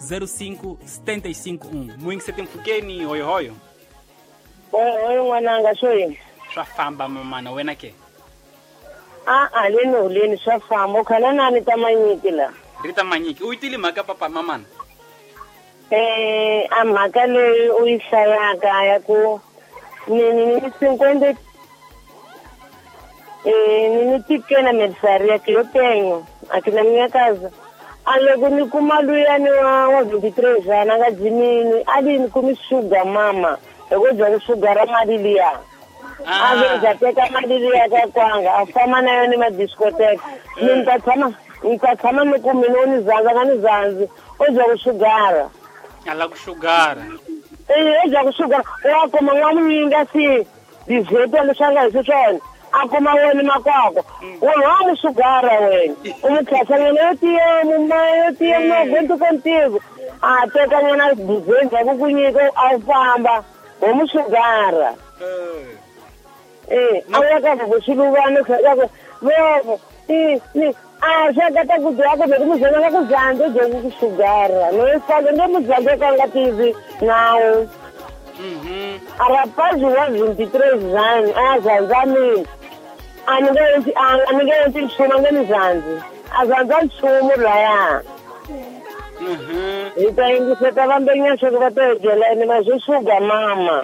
05 75 1. Muyingiseti mpfhukeni hoyohoyo. Hoyo n'wananga, swo yini? Swa famba mamana, wena ke? A leni holeni swa famba. U khana nani ta manyiki la? Ri ta manyiki. U yi twile mhaka papa mamana? A mhaka leyi u yi hlayaka ya ku ni cinquenta ni pequena mercearia que eu tenho aqui na minha casa. A loko ni kuma luyani wa 23 anos a nga jimini a li ni kumi sugar mama hi ku dya ku sugara mali liya. A ve za teka mali liya ka kwanga a famba na yona ma-discotheque. Ni ta tshama ni ku mina u ni zandza nga ni zandzi u dya ku sugara. A la ku sugara. U dya ku sugara wa kuma n'wamunyinga si dizeto leswi a nga hisi swona. A kuma wena makwako. Wena wa mu sugara wena. U mu tlhasa nyana yo tiya mumaya yo tiya no contigo. A teka nyana dizenza ku ku nyika a famba wa mu sugara. A ya ka ku xiluvana ka ku vovo ni a xa ka ta ku dya ku ku muzana ku zandza dya ku sugara. No ifaka ndo muzandza ka nga tivi nawu. A rapaz wa 23 anos, a zanza mina. A ninguém nchumu nga ni zandzi. A zandza nchumu laya. Hi ta yingiseta vambenya swa va ta byela ene ma swi suga mama.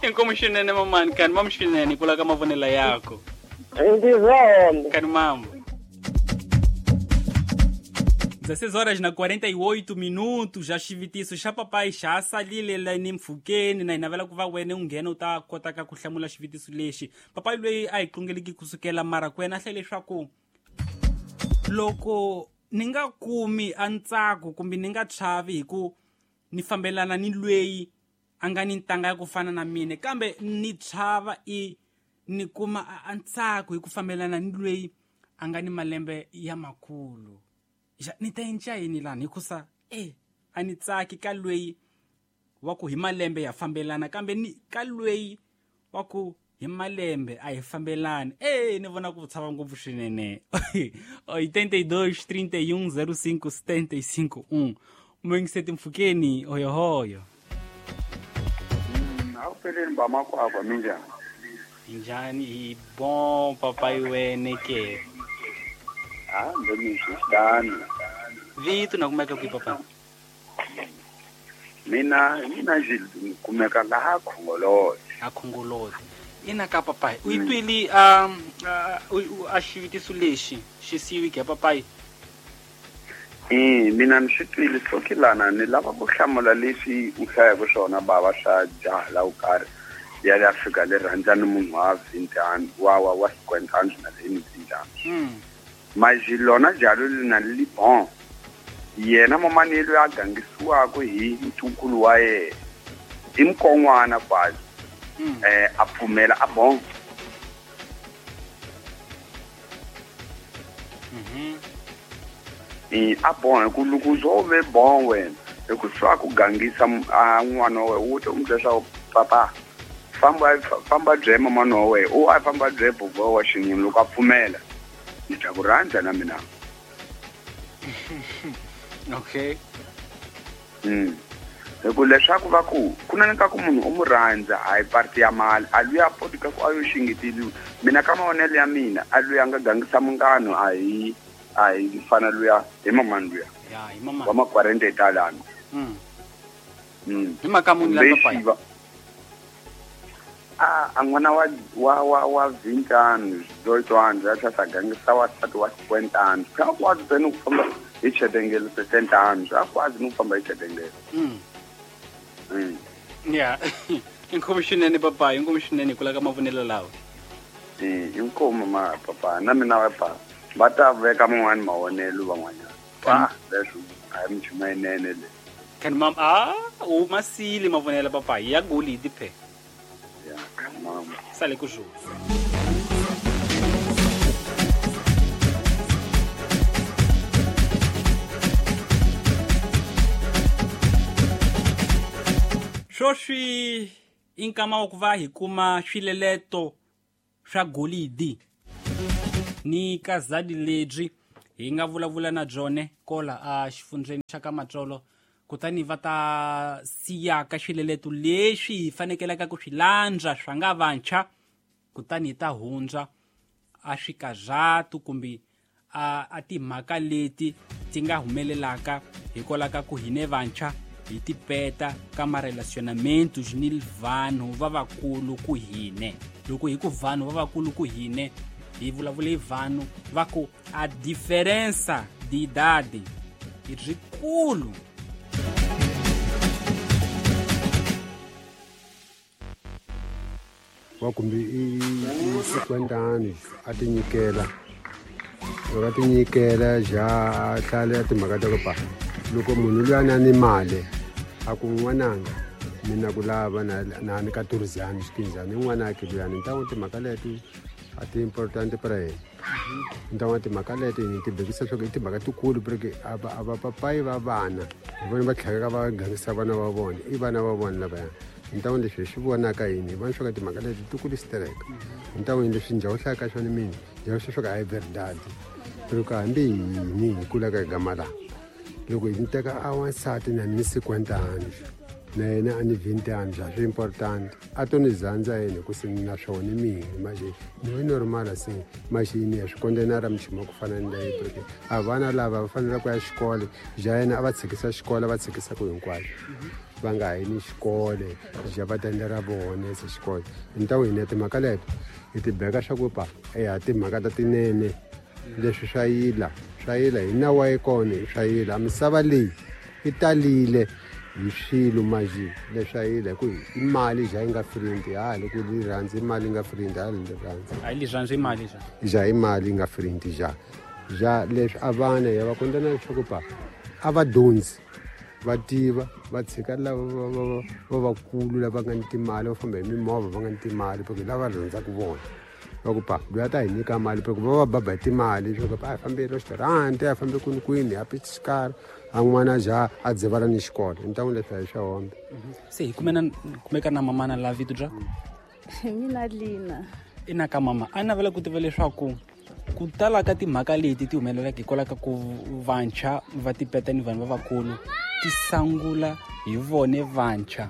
Inkomu swinene mamani, kani mamu swinene kula ka mavonelo yako. Ndi zwone. Kani mamu. 16 horas na 48 minutos, já xivutiso xa papai xa salile la ni mpfhukeni na hi navela ku va wena u nghena u ta kota ka ku hlamula xivutiso lexi. Papai loyi a hi tlungeleki kusukela mara ku yena a hlaye leswaku loko ni nga kumi a ntsako kumbe ni nga chavi hi ku ni fambelana ni loyi a nga ni ntanga ya ku fana na mina, kambe ni chava i ni kuma a ntsako hi ku fambelana ni loyi a nga ni malembe ya makulu. Ni ta endla yini lani hikusa a ni tsaki ka loyi wa ku hi malembe ya fambelana, kambe ni ka loyi wa ku hi malembe a hi fambelani. Ni vona ku tshava ngopfu swinene. 82 31 05 75 1. Muyingiseti mpfhukeni hoyohoyo. Awupheleni ba makwakwa minjani? Njhani? Hi bon papai wene ke? Ndo xitani. Vito na kumeka kwihi papa? Mina ni kumeka laha Khongolose. A Khongolose. Ina ka papai. U yi twile a xivutiso lexi xi siyiweke ya papai? Mina ni swi twile hlokilana ni lava ku hlamula leswi u hlayaka swona bava swa jaha la wo karhi ya le Afrika le rhandza ni munhu wa 20 wa 50 na le 20. Mas lona jalo li na li bon. Yena mamani loyi a gangisiwaka hi ntukulu wa yena i mukon'wana kwazi. A pfumela a bon. A bon hi ku loko zo ve bon wena hi ku swa ku gangisa a n'wana wa wena u ta n'wi byela leswaku papa famba bye mamani wa wena u a famba bye bubu wa xinuna loko a pfumela ni ta ku rhandza na mina. Okay. Hi ku leswaku va ku ku na ka ku munhu u mu rhandza a hi parti ya mali a luya poti ka ku a yo xingeteliwa. Mina ka mavonelo ya mina a luya nga gangisa munghano a hi fana luya hi mamani luya. Ya hi mamani. Wa ma-40 talano. Hi mhaka muni la papai? A n'wana wa 20 anos, 18 anos, a tlhela a gangisa wansati wa 50 anos. A kwazi ni ku famba hi chetengelo 60 anos, a kwazi ni ku famba hi chetengelo. Ya. Inkomu swinene papai, inkomu swinene ku la ka mavonelo lawa. Inkomu ma papa, na mina wa papa. Va ta veka man'wani mavonelo van'wanyana. Leswi a hi minchumu yinene leyi. Kani mam u masile mavonelo papai ya golidi phe. Sale ku jogo. Sweswi i nkama wa ku va hi kuma swileleto swa golidi ni kazadi lebyi Hi nga vulavula na byone kola a xifundzeni xa ka Matsolo, kutani va ta siyaka swileleto leswi hi fanekelaka ku swi landza swa nga vantshwa, kutani hi ta hundza a swikazatu kumbe a timhaka leti ti nga humelelaka hikwalaho ka ku hine vantshwa hi tipeta ka marelacionamentos ni vanhu va vakulu ku hine. Loko hi ku vanhu va vakulu ku hine, hi vulavule hi vanhu va ku a diferença de idade i rikulu. Wa kumbe i 50 anos a tinyikela, loko a tinyikela ja a hlaya timhaka ta ku pa loko munhu luya a ni mali a ku n'wananga mina ku lava na ni ka turizani xikinzani n'wanake luyani ni ta n'wi timhaka leti a ti important para yena, ni ta n'wi timhaka leti ni ti bekisa swa ku i timhaka tikulu porque a va papayi va vana hi vona va tlhekeka va gangisa vana va vona i vana va vona lavaya. Ni ta n'wi leswi hi swi vonaka yini hi vona swa ku timhaka leti ti kulu stereka. Ni ta n'wi leswi njhawu hlayaka swona mina njhawu swa ku a hi verdade loko hambi yini hi kulaka hi gama laha loko hi ni teka a wansati na ni 50 anos na yena a ni 20 anos a swi important a to ni zandza yena hi ku se na swona mina manje ni we normal se machini ya swi kondenara michuma ku fana ni leyi porque a vana lava va fanele ku ya xikolo ja yena a va tshikisa xikolo va tshikisa ku hinkwaswo va nga ha yi ni xikolo ja va ta endlela vona se xikolo. Ni ta hina timhaka leto hi ti beka swa ku pa eya timhaka ta tinene leswi swa yila swa yila hi nawu wa kona swa yila misava leyi i talile hi swilo maji leswi a yila hi ku i mali ja yi nga frindi ha loko li rhandzi mali yi nga frindi ha li rhandzi a li rhandzi mali ja ja i mali yi nga frindi ja ja leswi a vana ya va kondana leswaku pa a va dyondzi va tiva va tshika lava va vakulu lava nga ni timali va famba hi mimovha va nga ni timali porque lava rhandzaka vona va ku pa loyi a ta hi nyika mali porque va va baba hi timali swa ku pa a hi fambi restaurant a hi fambi kwini kwini a pichikara a n'wana ja a dzivala ni xikolo ni ta n'wi leswi a hi swa hombe. Se hi kumeka na mamana la vito bya mina Lina ina ka mama a navela ku tiva leswaku ku tala ka timhaka leti ti humelelaka hikwalaho ka ku vantshwa va tipeta ni vanhu va vakulu ti sangula hi vone vantshwa.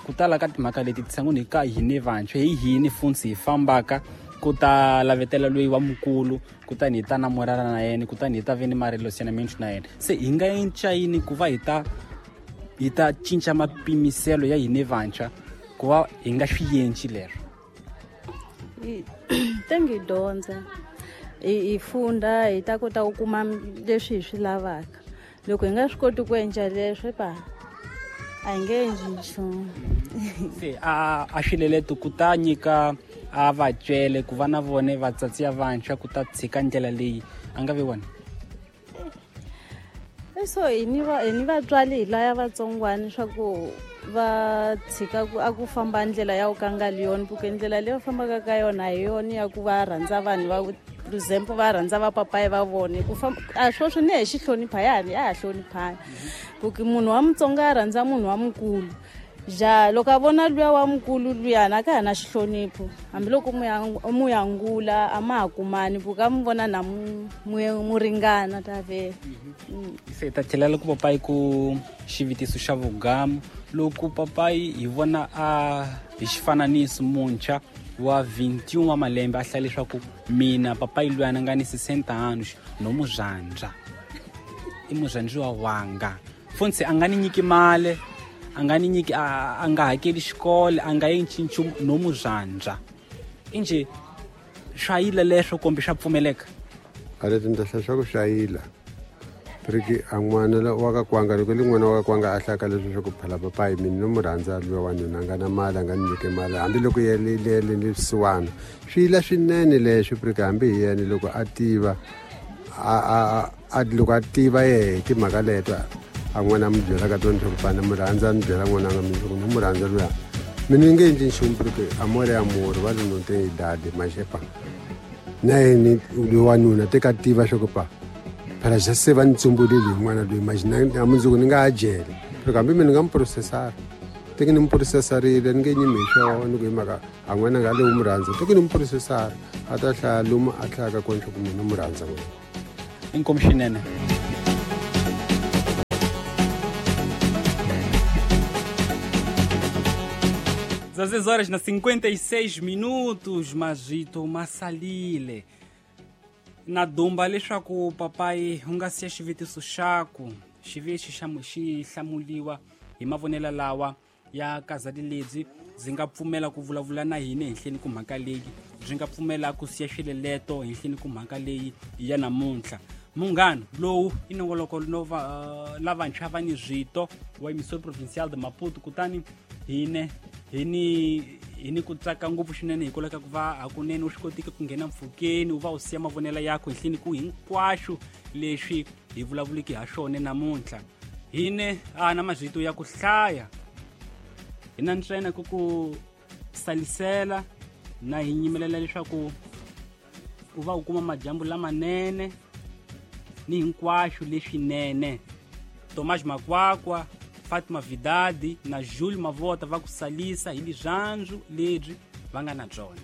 Ku tala ka timhaka leti ti sangula hi ka hine vantshwa hi hini funtsi hi fambaka ku ta lavetela loyi wa mukulu kutani hi ta namorana na yena kutani hi ta ve ni marelacionamento na yena. Se hi nga cinca yini ku va hi ta cinca mapimiselo ya hine vantshwa ku va hi nga swi yenci lero? Tengi dyondza hi funda hi ta kota ku kuma leswi hi swi lavaka. Loko hi nga swi koti ku endla leswi pa a hi nge endli nchumu. Se a swileleto ku ta nyika a vatswele ku va na vone vatsatsi ya vantshwa ku ta tshika ndlela leyi a nga vi wona. So hi ni vatswari hi laya vatsongwana swa ku va tshika a ku famba ndlela ya ku kanga yona porque ndlela leyi va fambaka ka yona hi yona ya ku va rhandza vanhu va for example va rhandza va papayi va vona ku famba a sweswo ni hi xi hlonipha ya ha hloniphana porque munhu wa Mutsonga a rhandza munhu wa mukulu ja loko a vona luya wa mukulu luyana a ka ha na xihlonipho hambiloko mu yangula a ma ha kumani porque a mu vona na mu ringana ta vhela. Se ta tlhelela ku papayi ku xivutiso xa vugamu loko papayi hi vona a hi xifananiso muntshwa wa 21 wa malembe a hlaya leswaku mina papayi luyana nga ni 60 anos no muzhandza i muzhandziwa wanga funtsi a nga ni nyiki mali a nga ni nyiki a nga hakeli xikolo a nga endli nchumu no muzhandza inje swa yila leswo kumbe swa pfumeleka? A leti ni ta hlaya swa ku swa yila porque a n'wana wa ka kwanga loko li n'wana wa ka kwanga a hlaka leswi swa ku phala papayi mina no mu rhandza luya wanuna a nga na mali a nga ni nyike mali hambiloko yele ni vusiwana swi yila swinene leswi porque hambi hi yena loko a tiva loko a tiva yehe timhaka leto a n'wana a mi byela ka tona leswaku pana mi rhandza ni byela n'wana nga mina leswaku ni mu rhandza luya mina ni nge endli nchumu porque amore amore va li no te idade maxepa na yena loyi wanuna te ka tiva swa ku pa phela xa se va ni tsumbulile hi n'wana loyi maxi na mundzuku ni nga ha jele loko hambi mina ni nga mu processara teke ni mu processarile ni nge nyimi hi swona ni ku hi mhaka a n'wana nga le u mu rhandza teke ni mu processara a ta hlaya lomu a hlayaka kona swa ku mina mu rhandza n'wana. Inkomu swinene. 16 horas na 56 minutos, mazito masalile. Na dumba leswaku papayi u nga siya xivutiso xaku xi ve xi xi hlamuliwa hi mavonelo lawa ya kazali lebyi byi nga pfumela ku vulavula na hina henhleni ku mhaka leyi byi nga pfumela ku siya xileleto henhleni ku mhaka leyi ya namuntlha. Munghana lowu i nongoloko no va lavantshwa va ni zwito wa emissora provincial de Maputo, kutani hine hi ni ku tsaka ngopfu swinene hikwalaho ka ku va hakunene u swi kotike ku nghena mpfhukeni u va u siya mavonelo yakho henhleni ku hinkwaswo leswi hi vulavuliki ha swona namuntlha. Hine a na mazito ya ku hlaya hi na ntsena ku ku salisela na hi nyimelela leswaku u va u kuma madyambu lamanene ni hinkwaswo leswinene. Tomás Makwakwa, Fatima Vidadi na Jules Mavota va ku salisa hi lirhandzu lebyi va nga na byona.